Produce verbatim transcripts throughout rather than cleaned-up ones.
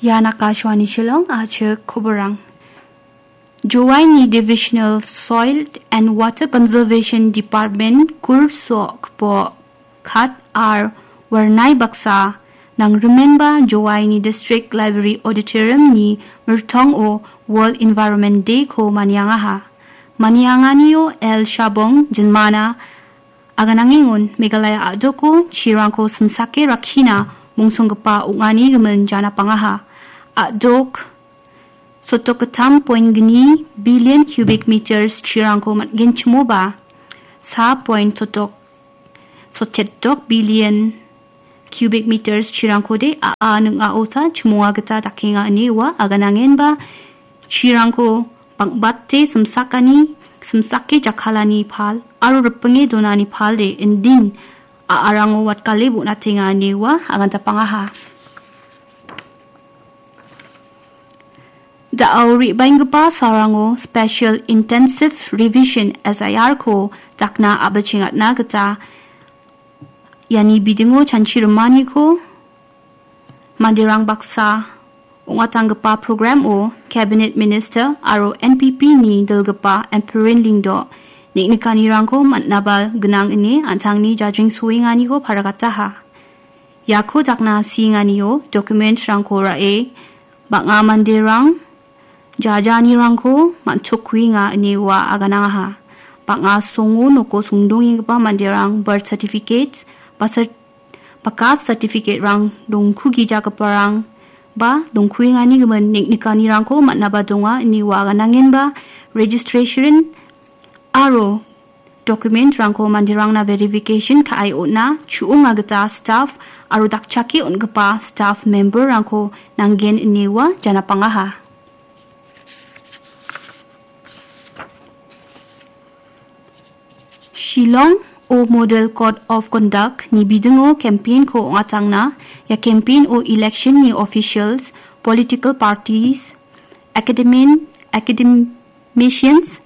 Ian Akashvani Shillong, achik koborang. Jowaini Divisional Soil and Water Conservation Department kurso kbo khat ar warnai baksa nangrimenba Jowaini District Library Auditorium ni mirtongo World Environment Day ko maniangaha. Manianganio L Shabong Jinmana aganangengon Meghalaya a·doko chirangko simsake rakkina mongsonggipa ong·ani gimin janapangaha. A·dok sotok gittam point gni billion cubic meters chirangko man·genchimoba, sa point sotok, sochetok billion cubic meters chirangkode a·a ning·aosa chimonga gita dakenga ine ua aganangenba chirangko bang·bate simsakani, simsake jakkalani pal aro ripinge donani palde indin a·arango watgale bon·atenga ine ua aganjapangaha. Da·o re·baenggipa sarango Special Intensive Revision, S I R ko dakna a·bichengatna gita iani bidingo chanchi rimaniko manderang baksa ong·atanggipa program-o Cabinet Minister aro N P P ni dilgipa Ampareen Lyngdoh neng·nikanirangko man·naba gnang ine an·tangni jajreng soenganiko paragataha. Iako dakna sienganio document-rangko ra·e bang·a manderang jajanirangko man·chokuenga ine ua aganangaha. Bang·a songo noko songdongenggipa manderang birth certificate ba cer-, ba caste certificate-rang dongkugijagiparang ba dongkuengani gimin neng·nikanirangko man·naba donga ine ua aganangenba registration aro document-rangko manderangna verification ka·e on·a, chu·onga gita staff aro dakchake on·gipa staff member-rangko nanggen ine ua janapangaha. Shillong o Model Code of Conduct ni bidingo campaign-ko ong·atangna, ia campaign-o election-ni officials, political parties, academian-, academicians,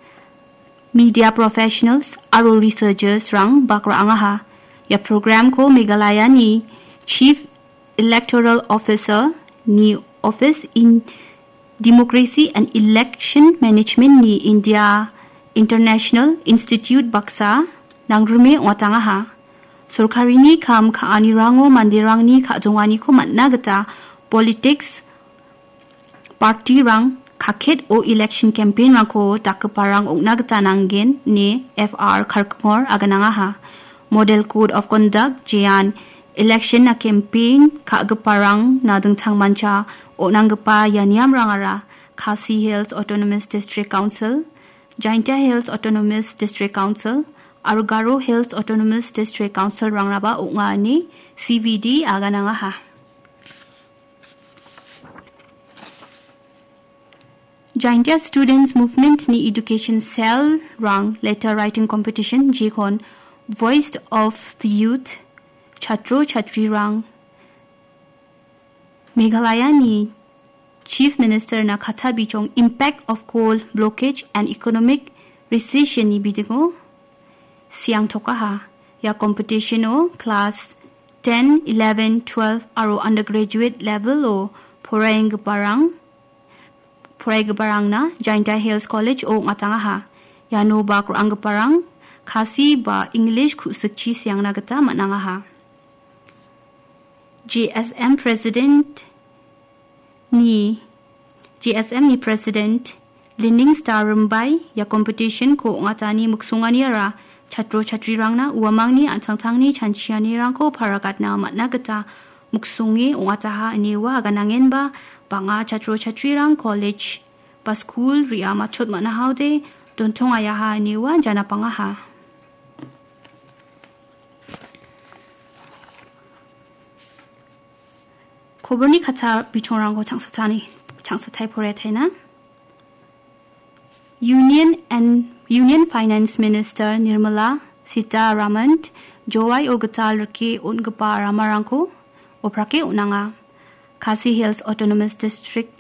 media professionals aro researchers-rang bak ra·angaha. Ia program-ko Meghalaya-ni Chief Electoral Officer ni Office in Democracy and Election Management ni India International Institute baksa nangrime ong·atangaha. Sorkarini kam ka·anirango manderangni ka·donganiko man·na gita politics party-rang kaket o election campaign-rangko dakgiparang ong·na gita nanggen ine F R Karkongor aganangaha. Model Code of Conduct jean election-na campaign ka·giparangna dingtangmancha on·anggipa ia niamrangara Khasi Hills Autonomous District Council, Jaintia Hills Autonomous District Council aro Garo Hills Autonomous District Council-rangraba ong·a ine C V D aganangaha. Jaintia Students Movement-ni Education Cell-rang Letter Writing Competition jekon Voice of the Youth, Chatro Chatrirang, Meghalaya-ni Chief Minister-na katta bijong Impact of Coal Blockage and Economic Recession-ni bidingo siangtokaha. Ia competition-o class ten, eleven, twelve aro undergraduate level-o poraienggiparang, poraigiparangna Jaintia Hills College-o ong·atangaha. Iano bak ra·anggiparang Khasi ba English ku·sikchi siangna gita man·angaha. J S M President ni, J S M ni President Lining Star Rimbai ia competition-ko ong·atani miksonganiara chatro chatrirangna uamangni an·tangtangni chanchianirangko paragatna man·a gita miksonge ong·ataha ine ua aganangenba bang·a chatro chatrirang college ba skul re·a matchot man·ahaode dontongayaha ine ua janapangaha. Koborni katta bichongrangko changsatani, changsatai poretaina. Union and, Union Finance Minister Nirmala Sitharaman Jowai-o gital rike on·gipa ramarangko oprake on·anga. Khasi Hills Autonomous District,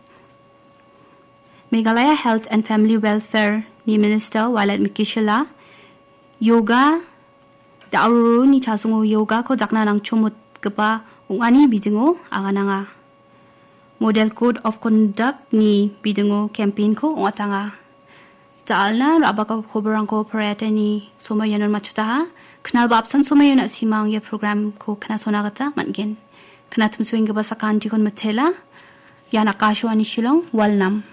Meghalaya Health and Family Welfare ni Minister Wailadmiki Shylla, yoga, da·roroni chasongo yogako dakna nangchomotgipa ong·ani bidingo agananga. Model Code of Conduct-ni bidingo campaign-ko ong·atanga. Da·alna ra·baka koborangko poraiatani somoi ianon matchotaha. Knalba apsan somoi iano simang ia program-ko knasona gita man·gen. Knatimsoenggipa sakantikon mitela. Ian Akashvani Shillong, Walnam.